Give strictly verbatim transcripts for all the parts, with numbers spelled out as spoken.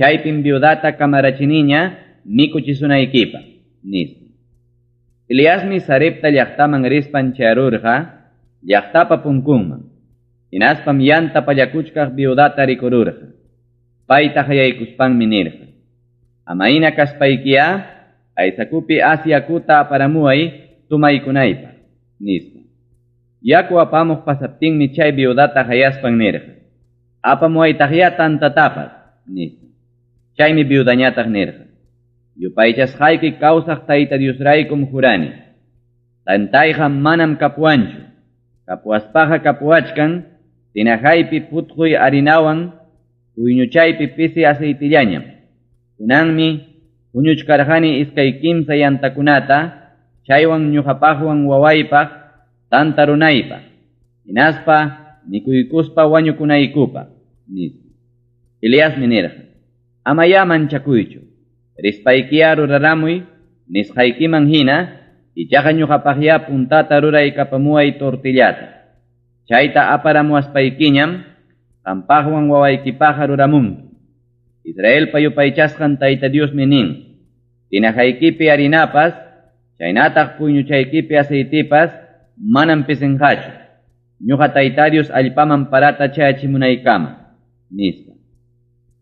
Chaypim viudata kamarachiniña mikuchisunaykipaq, nispa. Eliasmi Sarepta llaqtaman rispan chayarurqa llaqtapa punkunman. Hinaspam yanta pallakuchkaq viudata rikururqa. Payta hayaykuspanmi nirqa: Amayna kaspaykiya aysakupi as yakuta aparamuway tomaykunaypaq, nispa. Yaku apamuq pasaptinmi chay viudata hayaspan nirqa: Apamuwaytaqya tantatapas, nispa. Chaymi viudañataq nirqa: Yupaychasqayki kawsaq Tayta Diosraykum jurani. Tantayqa manam kapuwanchu. Kapuwaspaqa kapuwachkan tinajaypi putquy harinawan puyñuchaypi pisi aceitillañam. Kunanmi huñuchkarqani iskay kimsa yantakunata, chaywan ñuqapaqwan wawaypaq tanta runaypaq, hinaspa mikuykuspa wañukunaykupaq, nispa. Eliasmi nirqa: Amayá manchakuychu. Rispaykiya ruraramuy nisqaykiman hina, ichaqa ñuqapaqya puntata ruraykapamuway tortillata. Chayta aparamuwaspaykiñam qampaqwan wawaykipaqqa ruramunki. Israelpa yupaychasqan Tayta Diosmi nin: Tinajaykipi harinapas, chaynataq puyñuchaykipi aceitipas manam pisinqachu. Ñuqa Tayta Dios allpaman parata chayachimunaykama, nispa.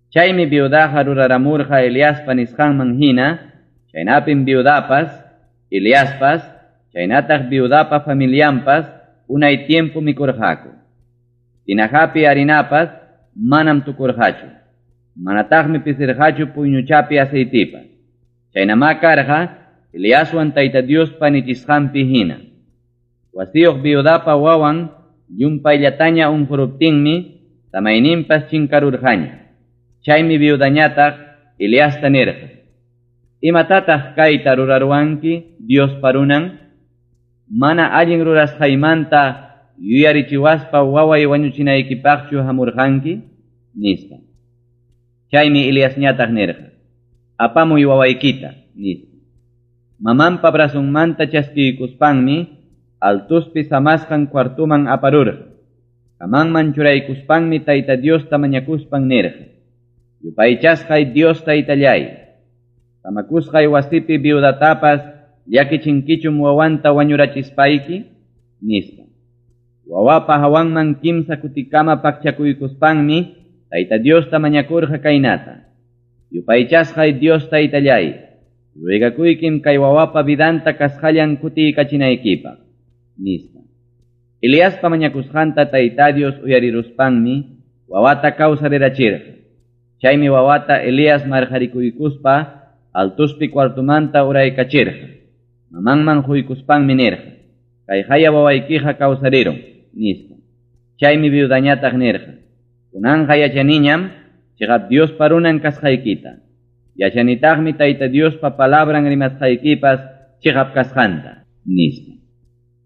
Chaymi viudaqa ruraramurqa Eliaspa nisqanman hina, chaynapim viudapas, Eliaspas, chaynataq viudapa familianpas unay tiempo mikurqaku. Tinajapi harinapas manam tukurqachu. Manataqmi pisirqachu puyñuchapi aceitipas. Chaynamá karqa Eliaswan Tayta Diospa nichisqanpi hina. Wasiyuq viudapa wawan llumpayllataña unquruptinmi samayninpas chinkarurqaña. Chaymi viudañataq Eliasta nirqa: Imatataq kayta ruraruwanki Diospa runan? Mana allin rurasqaymanta yuyarichiwaspa waway wañuchinaykipaqchu hamurqanki, nispa. Chaymi Eliasñataq nirqa: Apamuy wawaykita, nispa. Mamanpa brazonmanta chaskiykuspanmi altuspi samasqan cuartuman aparurqa. Kamanman churaykuspanmi Tayta Diosta mañakuspan nirqa: Yupaychasqay Dios Taytallay, samakusqay wasipi viudatapas llakichinkichum wawanta wañurachispayki, nispa. Wawapa hawanman kimsa kutikama pakchakuykuspanmi Tayta Diosta mañakurqa kaynata: Yupaychasqay Dios Taytallay, ruegakuykim kay wawapa vidanta kasqallan kutiykachinaykipaq, nispa. Eliaspa mañakusqanta Tayta Dios uyariruspanmi wawata kawsarirachirqa. Chaymi wawata Elías marqarikuykuspa altuspi cuartumanta uraykachirqa. Mamanman huykuspanmi nirqa: Kayqaya wawaykiqa kawsarirun, nispa. Chaymi viudañataq nirqa: Kunanqa yachaniñam chiqap Diospa runan kasqaykita. Yachanitaqmi Tayta Diospa palabran rimasqaykipas chiqap kasqanta, nispa.